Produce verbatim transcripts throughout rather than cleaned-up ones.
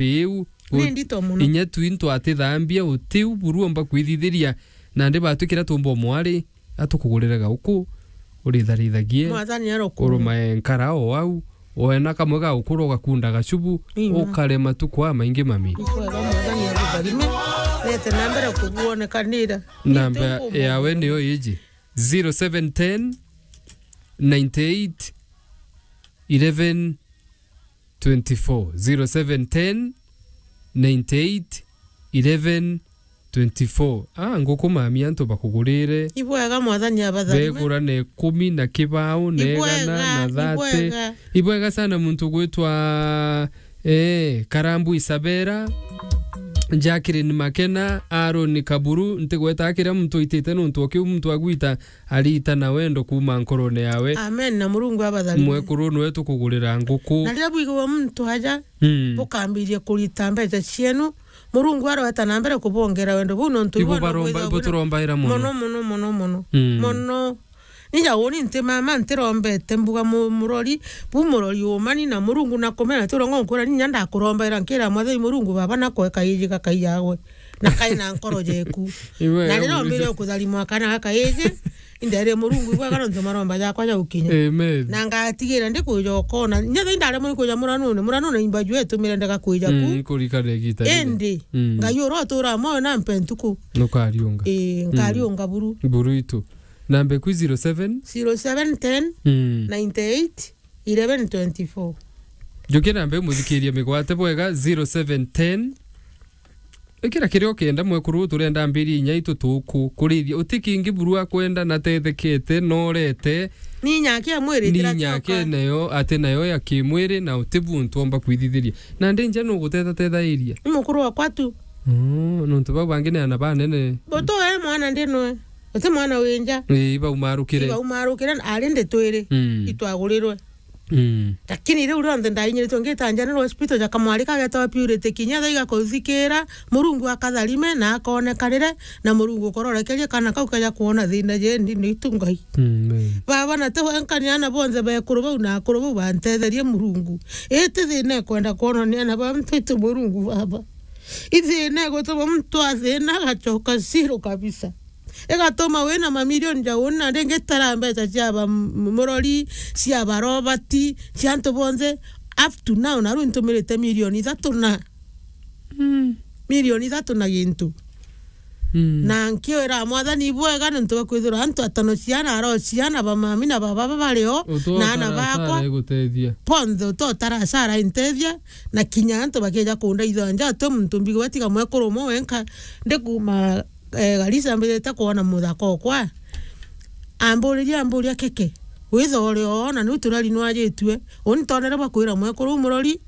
iu. Ni ndito mono. Inya tu into atithambia utiu buru omba kwithithiria. Nandi batwikira tumbo mwari, atukugurire gauku, uritharithagie, Mwathani arokuuma. Urumae nkara o au, wena kamwe ga ukuru ugakunda gacubu, Ima. Ukare matuku aa maingi mami. Ni kwega Mwathani agutharime, nete na mbere kubuonekanira. Namba yawe niyo iji, zero seven ten, ninety eight, eleven, twenty-four, zero seven ten, ninety eight, eleven, twenty-four. Ah, nguku mami antu bakugurire. Ibwega Mwathani abatharime. Begura na ikumi na kibao, na igana, na thate. Ibwega, ibwega. Ibwega sana muntu gwitwa, eh, Karambu Isabera, Jacqueline Makena, Aaron Kaburu, ntigweta akira muntu oitite nontu o kiu muntu agwita arita na wendo kuuma nkorone yawe. Amen, na Murungu abatharime. Mwekuru niwe tukugurira nguku. Na riria bwigua muntu aja, Mm. bukambiria kurita mbeca cienu, Murungu arweta na mbere kubongera wendo buu nontu ibo ibo no baromba, bwithagwa ibo bwina turombaira mono. Mono, mono, mono, mono. Mm. Mono. Nija uni nti mama ntirombete mbuga mu-, murori, bu murori umani na Murungu na kumena turo ngonkwira ninya ndakurombaira nkira Mwathani Murungu baba na kweka iji gakai yagwe. Na kai na nkoro jeku. Iwe, na riria ombire kutharimwa kana gaka iji, indere Murungu ibwega nontu maromba jakwa jaukinya. Amen. Na ngatigira ndi kuja ukona. Nyetha indaremwe ni kuja muranune, muranune imba jwe tumire ndega kuja ku. Mm, kurikana igita riri. Indi, Mm. Ngai ura utura moyo na mpe ntuku. Nukariunga. Ii, Mm. Nkariunga buru. Buru itu. Namba iku zero seven? Zero seven ten, Mm. Ninety eight, eleven twenty-four. Njukia namba imuthikiria migwate bwega, zero seven ten. Ikira kiria ukenda mwekuru, turenda mbiri inya itu tuku kurithia. Uti kingi buru akwenda na tethekete, norete. Ni inya akia mwiri, Ni inya akia nayo, ati nayo ya kimwiri na uti buntu omba kwithithiria. Na ndi nja nuguteta tethairia. Ni mukuru wakwa tu. Oh, nontu bau bangi ni ana banene. Butu we mwana ndi nwe. Uti mwana wi nja. Ii, baumarukire. Ibaumarukire, ari ndi twiri. Mm. Itwagurirwe. Mm. Lakini riu rionthe ndainyiritwe ngita General Hospital ja kamwari kagetawa Purity kinya thaa igakuthikira, Murungu akatharime na akonekanire, na Murungu ukororekerie kana kau kaja kwona thina jendi ni itu Ngai. Mm, amen. Baba, na ti wenka ni ana bonthe bekuru bau na akuru bau bantetherie Murungu. Iti thina ikwenda kwonwa ni ana ba mtu itu Murungu baba. Ithina igutuma muntu athina agacoka zero kabisa. Igatuma wina mamilioni ja uni na ringi tara mbeca cia ba m-, murori, cia ba Robert, cia antu bonthe. Up to now, na riu ntumirite milioni ithatu na, Mm. milioni ithatu na gintu. Mm. Na nkiwira Mwathani ibwega nontu bwa kwithirwa antu atano ciana, aro ciana, ba mami na baba baba bari o, na ana bakwa. Utotara asara igutethia. Bonthe utotara asara intethia, na kinya antu bakija kundaithia nja, ati muntu mbigwa tiga mwekuru umwe wenka, ndi kuma eh, Garissa mbijite kwona muthaka okwa. Amburiria, amburia, "Keke, withore oo, na niu turari nwajitue?" Uni ntonere bwa kwira mwekuru uu murori,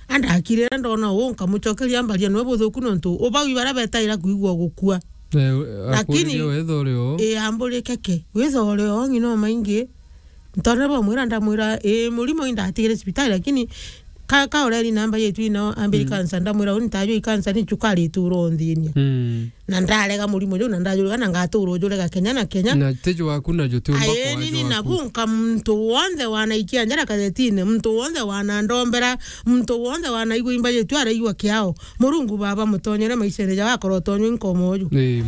andakirira ndona uu, nkamucokeria mbaria nwe buthuku nontu ubau ibaria betaira kwigua gukua. Eh, lakini akuririe withore oo. Ii, amburia, "Keke, withore oo ng'ina o maingi?" Ntonere bwa mwira, ndamwira, "Ii, murimo indatigire cibitari, lakini ka, ka ureri namba yetu ino, ambiri Mm. cancer." Ndamwira, "Uni ntajua i cancer, ni cukari itura unthinia." Mm. Na ndarega murimo juu, na ndajurega, na ngatura ujurega kenya na kenya. Na ti jwaku, na juti umba Aeni, kwa ni jwaku. Nabu nka muntu wonthe wanaikia njara kazetine, muntu wonthe wanandombera, muntu wonthe wanaigua imba yetu araigua kiao. Murungu baba mutonyere maishene jao, akorwo tonywe nkomo uju. Ii.